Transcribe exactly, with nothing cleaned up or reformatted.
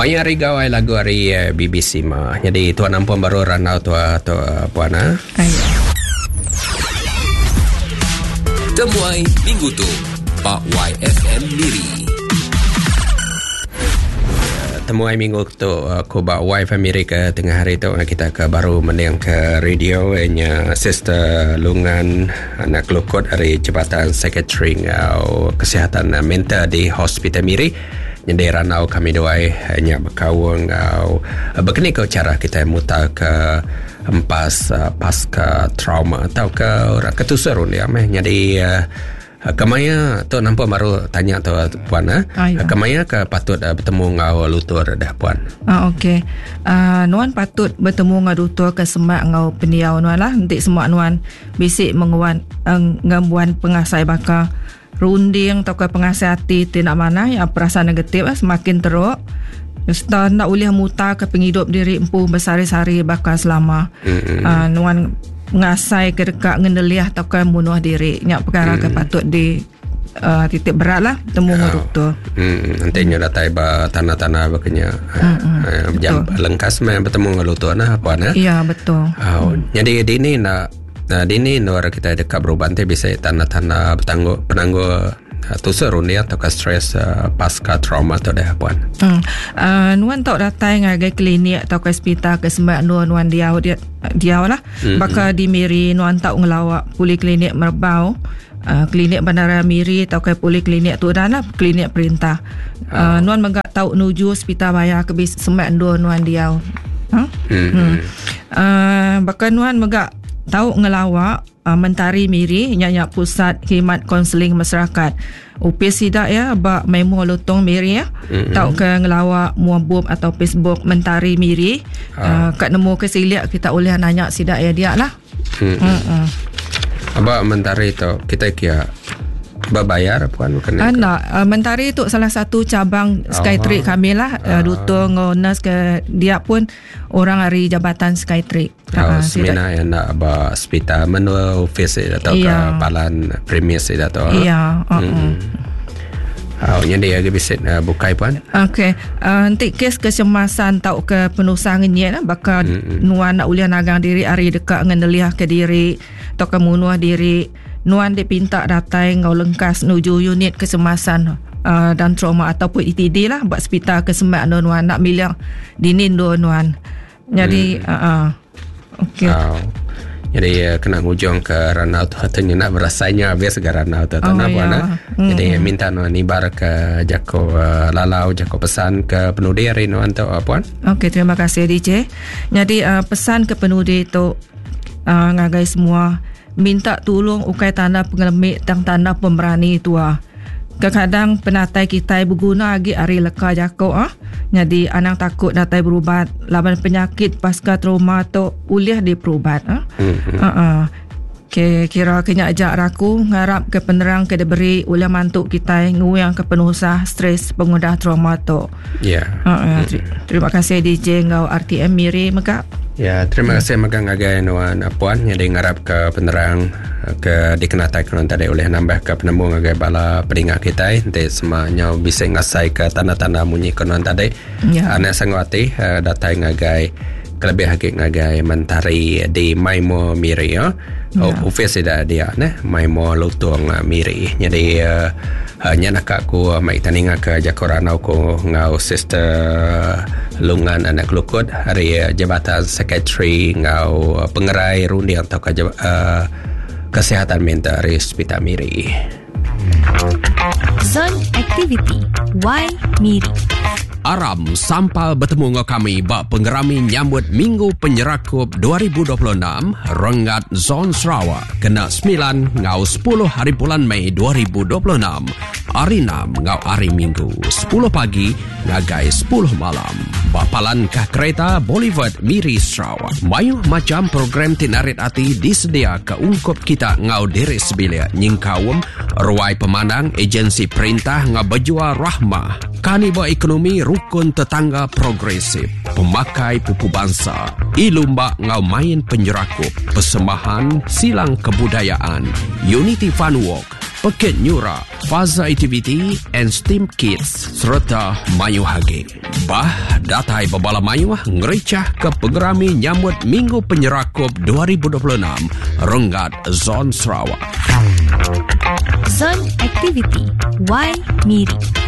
Maya hari gawai lagu hari B B C ma. Jadi tuan ampun baru ranau tua tua puan ah. Ayo. Temuai minggu tu Pak Y F M Miri. Temuai minggu tu aku ba Y F M Miri ke tengah hari tu kita ke baru mending ke radio nya Sister Lungan anak Kelukut dari Jabatan Sekretari ngau Kesihatan Mental di Hospital Miri. Jadi ranau kami duai nya berkaung ngau berkini ke cara kita mutar ke empas pasca trauma atau ke orang ketusur dia meh. Jadi kemaya tu nampak baru tanya tu puan eh. Ah, ya. Kemaya ke patut uh, bertemu ngau lutur dah puan. Ah okey. Uh, nuan patut bertemu ngau lutur ke semak ngau pendiau nuan lah. Nanti semak nuan bisik menguan uh, ngembuan pengasai bakar runding atau ke pengasai hati tidak mana yang perasaan negatif lah, semakin teruk. Serta nak boleh mutar ke penghidup diri empu bersari-sari bakal selama. Mm-hmm. Uh, nuan ngasai ke dekat ngendeliah atau ke bunuh diri. Nyak perkara hmm. ke patut di uh, titik berat lah temu dengan oh. doktor. Hmm. Nanti nya datai ba tanah-tanah berkenya. Hmm. Uh, jam lengkas main bertemu dengan doktor nah apa nah. Ya betul. Oh. Hmm. Jadi di ni nak nah, di ni nur kita dekat berubat nanti bisa tanah-tanah bertangguh penangguh tusur rundi atau ke stres uh, pasca trauma tu dah puan. Hmm. Uh, nuan tak datang ngagai klinik atau ke hospital ke semak nuan nuan dia dia dia lah. Mm-hmm. Baka di Miri nuan tak ngelawak poliklinik Merbau, uh, klinik Bandara Miri atau ke poliklinik tu dah lah klinik perintah. Uh, oh. Nuan megak tahu nuju hospital bayar ke semak nuan nuan dia. Huh? Mm-hmm. Hmm. Uh, baka nuan megak tahu ngelawak uh, Mentari Miri nyanyak pusat khidmat konseling masyarakat. U P sidak ya bak memo lotong Miri ya. Mm-hmm. Tahu ke ngelawak muabub atau Facebook Mentari Miri. Ah. Uh, kat nemu ke siliak kita boleh nanya sidak ya dia lah. Mm-hmm. Mm-mm. Abak Mentari tu kita kira berbayar puan bukan? Ah, nak uh, Mentari tu salah satu cabang Skytree oh. kami lah. Uh, Duta ngau nurse ke dia pun orang hari jabatan Skytree. Oh, Uh, semina yang nak ba hospital menua office atau ke Ya. palan premis atau. Ya, uh-uh. Hmm. Oh, jadi lagi bisa uh, bukai puan. Okey, uh, nanti kes kecemasan tau ke penusah ngenyek lah bakal Mm-mm. nuan nak uliah nagang diri hari dekat ngendeliah ke diri atau ke munuh diri. Nuan dipinta datang ngau lengkas nuju unit kecemasan uh, dan trauma ataupun E T D lah buat hospital kesemak nuan nak milih dinin dua nuan. Jadi Hmm. uh, uh, okey. Oh. Jadi uh, kena ngujung ke ranau tu katanya nak berasanya habis ke ranau tu Oh, nak ya. buat nah. Hmm. Jadi minta nuan ibar ke jako uh, lalau jako pesan ke penudi hari nuan tu uh, puan. Okey, terima kasih D J. Jadi uh, pesan ke penudi tu uh, ngagai semua minta tolong ukai tanda pengelemik tang tanda pemberani tua. Kadang-kadang penatai kita berguna lagi hari leka jako ah. Jadi anang takut datai berubat laban penyakit pasca trauma tu boleh diperubat ah. Mm-hmm. Uh-uh. Ke kira kena ajak raku ngarap ke penerang ke diberi oleh mantuk kita nguyang ke penusah stres pengudah trauma tu. Ya. Yeah. Uh-uh. Terima kasih D J ngau R T M Miri mega. Ya, terima kasih megang ngagai nuan puan jadi ngarap ke penerang ke dikenatai ke tadi oleh nambah ke penemu ngagai bala peningat kita nanti semuanya bisa ngasai ke tanda-tanda munyi ke nuan tadi. Ya. Anak sangwati datai ngagai kelebih lagi ngagai Mentari di Maimo Miri ya. Ya. Office dah dia neh Maimo Lutong Miri. Jadi uh, uh, nya nak aku mai taninga ke Jakoranau ko ngau Sister Lungan anak Kelukut hari uh, jabatan sekretari ngau uh, pengerai rundi atau ke uh, kesihatan mental dari Hospital Miri. Zone Activity Y Miri. Aram sampal bertemu dengan kami bak penggerami nyambut Minggu Penyerakup dua ribu dua puluh enam Renggat Zon Sarawak kena sembilan ngau sepuluh hari bulan Mei dua ribu dua puluh enam hari enam ngau hari Minggu sepuluh pagi ngagai sepuluh malam. Bapalan kah kereta Boulevard Miri Sarawak. Mayuh macam program tinarit hati disedia ke ungkup kita ngau diri sebilik nyingkawem ruai pemandang agensi perintah ngau berjual rahmah. Kaniba ekonomi rukun tetangga progresif, pemakai pupu bangsa, ilumba ngau main penyerakup, persembahan silang kebudayaan, Unity Fun Walk, Pekit Nyura, Faza Activity and STEAM Kids serta mayuh agi. Bah, datai bebala mayuh ngericah ke pengerami nyambut Minggu Penyerakup dua ribu dua puluh enam Renggat Zon Sarawak. Zon Aktiviti Y Miri.